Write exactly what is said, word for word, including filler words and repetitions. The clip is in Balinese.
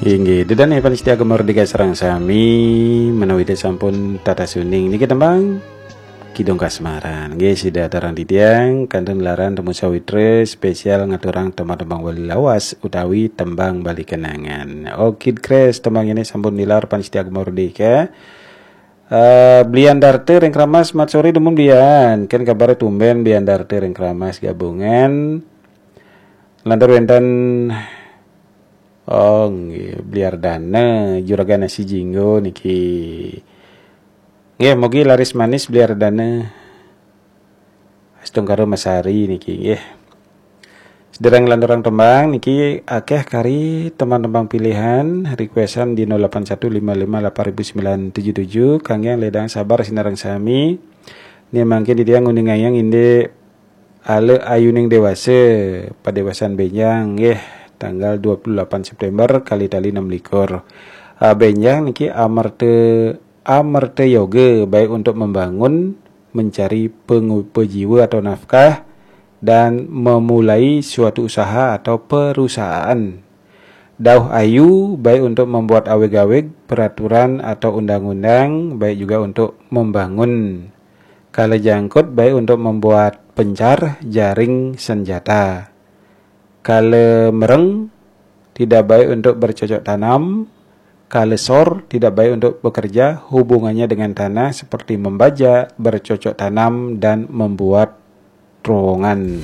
Inggih, ida dané pamiarsa Gema Merdeka sareng sami, menawi sampun tatas uning niki tembang Kidung Kasmaran. Nggih, sida aturang titiang kantun laran temu sawitra spesial ngaturang tembang-tembang Bali lawas utawi tembang Bali kenangan. Oke, Kres, tembang ini sampun nilar pamiarsa Gema Merdeka. Eh, Blian Darte ring Kramas, mat sore dumun Blian. Kan kabar tumben Blian Darte ring Kramas gabungan. Lantur wénten, oh nggih, Bliardana, Juragan Nasi Jinggo niki. Nggih, mugi laris manis Bliardana. Astungkara Masari niki nggih. Sedereng lanturang tembang niki akeh kari tembang-tembang pilihan requestan di nol delapan satu lima lima delapan ribu sembilan tujuh tujuh. Kangge ledang sabar sinareng sami. Nih mangkin titiang nguningayang indik Ale Ayuning Dewasa, Padewasan Benjang nggih, tanggal dua puluh delapan September kali tali enam likur. Ah, Benjang niki amerta amerta yoga, baik untuk membangun, mencari pengupa jiwa atau nafkah, dan memulai suatu usaha atau perusahaan. Dauh ayu, baik untuk membuat awig-awig, peraturan atau undang-undang, baik juga untuk membangun. Kala jangkut, baik untuk membuat pencar, jaring, senjata. Kala mereng, tidak baik untuk bercocok tanam. Kala sor, tidak baik untuk bekerja, hubungannya dengan tanah seperti membajak, bercocok tanam, dan membuat terowongan.